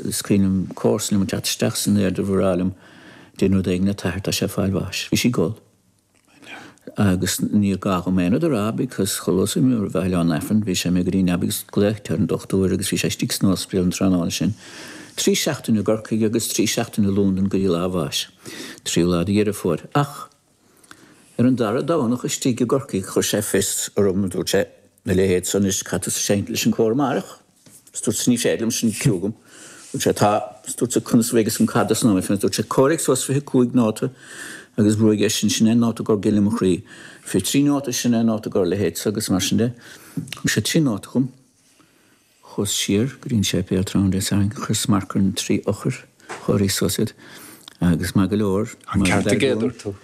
Is cuimhin liom comharsa liom ag teacht isteach san airdeall ag rá liom, déan rud éigin le t'athair, tá sé ag fáil bháis. Bhí sí ag gol. Agus níor ghá dhom aon rud a rá because chuile lá a bheith an Aifreann, bhí sé imithe go dtí an leaba agus glaoite ar an dochtúir agus bhí sé istigh san ospidéal an tráthnóna sin. Trí seachtaine i gCorcaigh agus trí seachtaine i Londain go dtí lá a bháis. Tríú lá de Dheireadh Fómhair. Ach ar an dara Domhnach istigh i gCorcaigh chuir sé fios orm, dúirt sé, a leithéid so anois, caithfidh tusa seinnt leis an cór amárach. Is dúirt sé, ní féidir liom sin cliú agam. Dúirt sé, tá. Is dúirt sé, conas a bheidh fhios agam cad as an am féin. Dúirt sé, comhairigh suas 25 nóta agus brúigh é sin, sin é an nóta gur gile mo chroí. 23 nóta, sin é an nóta gur leithéid so agus mar sin de. Thug sé trí nóta dhom. Chuas siar go dtí an séipéal tráthnóna Dé Sathairn, chuireas marc ar na trí eochair, chomhairíos suas iad agus maith go leor. An ceart aige, a dúirt tú.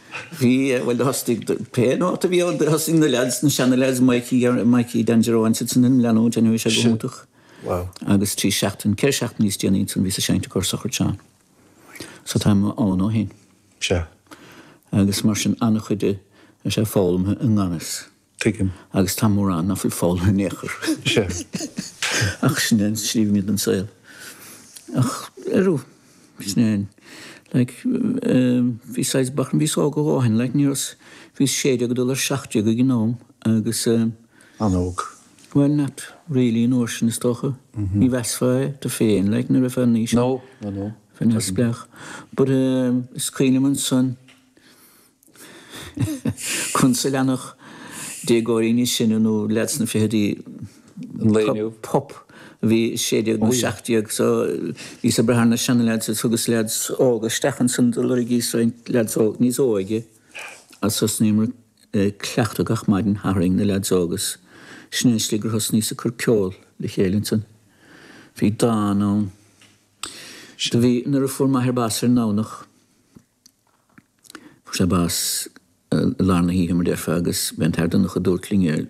Bhí, bhuel, do thosaigh, pé nóta a bhí ann, do thosaigh na leaids, na seana-leaids, Mikey, Mikey Dan Jerome, siad san ag leanúint anyway, sé go hiontach. Wow. Agus trí seachtain, ceithre seachtain níos déanaí ansan bhíos ag seinnt i gcomhair sochraid Seán. So táim ann ó shin. Sea. Agus mar sin an-chuid de, tá sé foghlamtha i ngan fhios. Tuigim. Agus tá mórán ná fuil foghlamtha in aon chor. Sea. Ach sin é an slí a mbíonn an saol. Ach, arú, sin é an, like, bhí saghas bachrann, bhíos óg a dhóthain, like, ní raibh, bhíos 16 ag dul ar 17 ag an am agus. An-óg. Bhuel, not really an uair sin is dócha. Ní mheasfá é tú féin, like, nuair a bheifeá in aois. No, no, no. Bheith neamhspleách. But, is cuimhin liom ansan, Conas a leanfadh déagóirí níos sine nó leaids sna fichidí an lae inniu? Pup a bhí 16 nó 17 so bhíos ag brath ar na seana-leaids agus thugas leaids óga isteach ansan do lorgaíos roinnt leaids óg níos óige agus thosnaíomar ag cleachtadh gach maidin Sathairn na leaids óga agus sin é an slí gur thosnaíos ag cur ceol le chéile ansan. Bhí dán ann. Do bhí nuair a fuair m'athair bás ar an nDomhnach. Fuair sé bás i lár na hoíche, mar déarfá, agus b'é an t-Athair Donncha a dúirt linn ar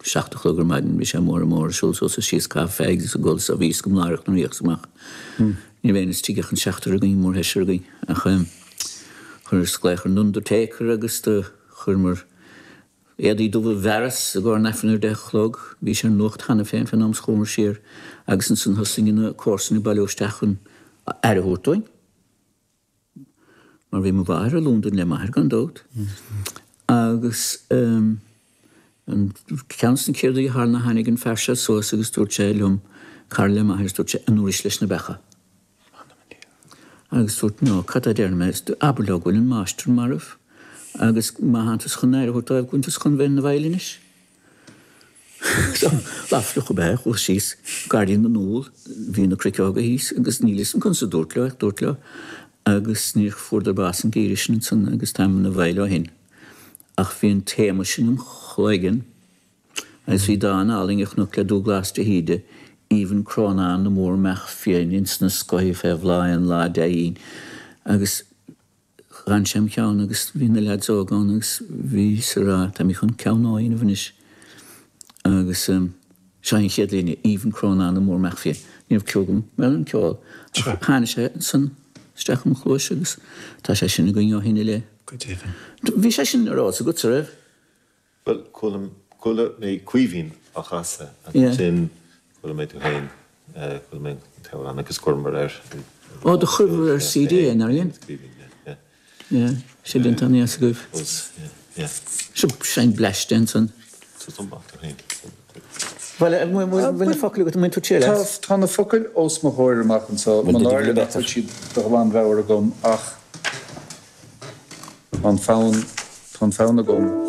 seacht a chlog ar maidin, bhí sé amuigh ar an mbóthar ag siúl suas is síos ag caitheamh fags is ag ól so bhí fhios agam láithreach nuair a thiocfadh amach. Ní raibh éinne istigh ach an seachtar againn, mórsheisear againn, ach chuireas glaoch ar an undertaker agus do chuireamar éadaí dubha i bhfearas i gcomhair an Aifrinn ar a deich a chlog. Bhí sé ar an nuacht cheana féin fén am is chuamar siar agus ansan thosaigh na comharsana ag bailiú isteach chun aire a thabhairt dúinn. Mar bhí mo mháthair i Londain le m'athair gan dabht. Agus an ceann de na chéad rudaí a tharla ná tháinig an fear seo suas agus dúirt sé liom, cara le m'athair, is dúirt sé, an ndúrais leis na beacha? Agus dúirt, no, cad a déarfaidh mé? Abair leo go bhfuil an máistir marbh agus má thánn tusa chun aire a thabhairt dóibh go bhfuil tusa chun bheith ina bhfeighil anois. Lá fliuch ab ea é, chuas síos Gairdín na nÚll, bhí na cnoic óga thíos agus níl 'fhios a'm conas a dúrt leo ach dúrt leo agus níor fuaradar bás an geimhreadh sin ansan agus táim ina bhfeighil ó shin. Ach bhí an téama sin im chloigeann agus bhí dán álainn a chonac le Dúghlás de hÍde, Aoibhinn Crónán na mór-mbeach fiain ins na scothaí fé bhláth aon lá dea-mhín agus D'fhan sé im cheann agus bhí na leaids óga ann agus bhíos ag rá, tá mé chun ceann nua a dhéanamh anois. Agus seo an chéad líne, Aoibhinn Crónán na mór-mbeach fiain. Ní raibh cliú agam ar an ceol ach tháinig sé ansan isteach im chluais agus tá sé sin againn ó shin i leith. Go deimhin. Bhí sé sin ar eolas agat, an raibh? Bhuel, chuala, chuala mé Caoimhín á chasadh agus ansin chuala mé tú féin, chuala mé an t-amhrán agus chuireamar air. Ó, do chuireabhair ar CD é, nár dhein? Caoimhín, yeah, yeah. Yeah, sé déanta an-dheas agaibh. Was, yeah, yeah. Seo seinn bleaiste ansan. So tú amach tú féin. Bhuel, bhfuil na focail agat, an mbain tú triail as? Tá na focail os mo chomhair amach anseo, mo náire nach bhfuil siad de ghlanmheabhair agam ach tá an fonn, tá an fonn agam.